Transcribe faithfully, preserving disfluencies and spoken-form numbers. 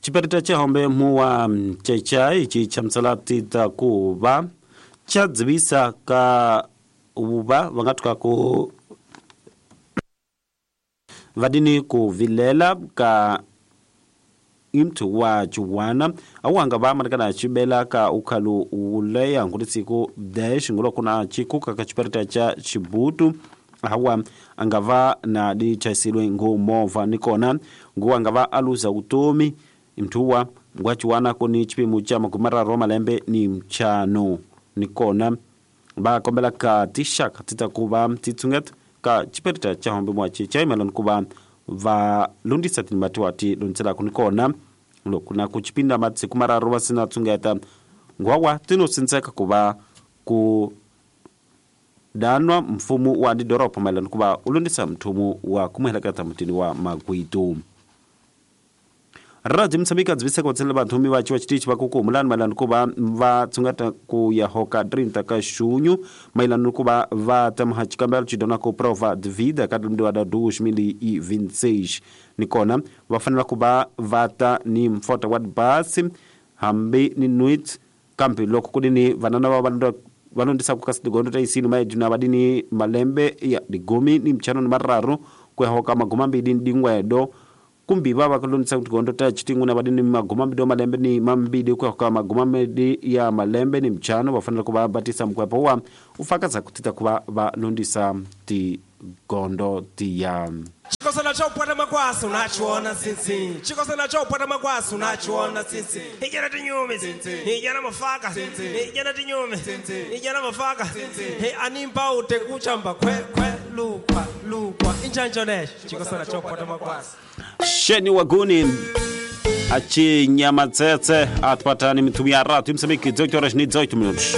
Chiperita cha hombe muwa chechai chi chamusela tita ku va cha dzivisa ka uva va nga tuka ku vadini ku vilela ka imtu wa chiwana awanga va marekana chibela ka ukhalu uleya ngulisiku dash ngulo kuna chikuka ka chiperita cha Chibutu hawa angava na di chasilwe ngomova nikona nguwa aluza utomi imtuwa ngwachiwana koni chipimo cha makumara roma lembe ni mchano nikona ba kombela ka tishaka titakuba titsunget ka chiperita cha hombe mwachi chaimelon kuba va lundisa tinimatiwati luntsela kunikona lokuna kuchipinda matsi kumararo vasina tsungeta ngwawa tinosintseka kuva ku danwa mfumo wa didoropo maelana kuva ulundisa mthumu wa kumuheleketa mutini wa Magwitu. Radio Msambika dzivisa kutsela vanthumi va chiwa chitichi va kukumulani maelana kuva va tsungeta ku ya hoka trinta ka xunyu maelana kuva va tamaha chikambelo chidona ku prova de vida ka lembe wa dois mil e vinte e seis nikona va fanela kuva va ta ni mfota wa basi hambi ni nuit kambe loko kudini vanana va vanhu vanondisa ku kasi digondo ta isini maejuna vadini malembe ya digumi ni mchano ni mararu ku ya hoka maguma mbili ni dingwedo kumbi baba kulundisa kugondo ta chitingu na badini magoma mbido malembe ni mambidi kwa kwa magoma mbidi ya malembe ni mchano bafanira kuba batisa mkwepo wa ufakaza kutita kuba balundisa ti gondo ti ya Chikosa cha upata makwasi unachiona sisi. Chikosa cha upata makwasi unachiona sisi. Ijana tinyume ijana mafaka ijana tinyume ijana mafaka. He animpa utekuchamba kwe kwe lukwa lukwa injanjonesh. Chikosa cha upata makwasi. Sheni waguni achi nyama tsetse atpatani mitumia ratu msemiki dezoito horas ni dezoito minutos.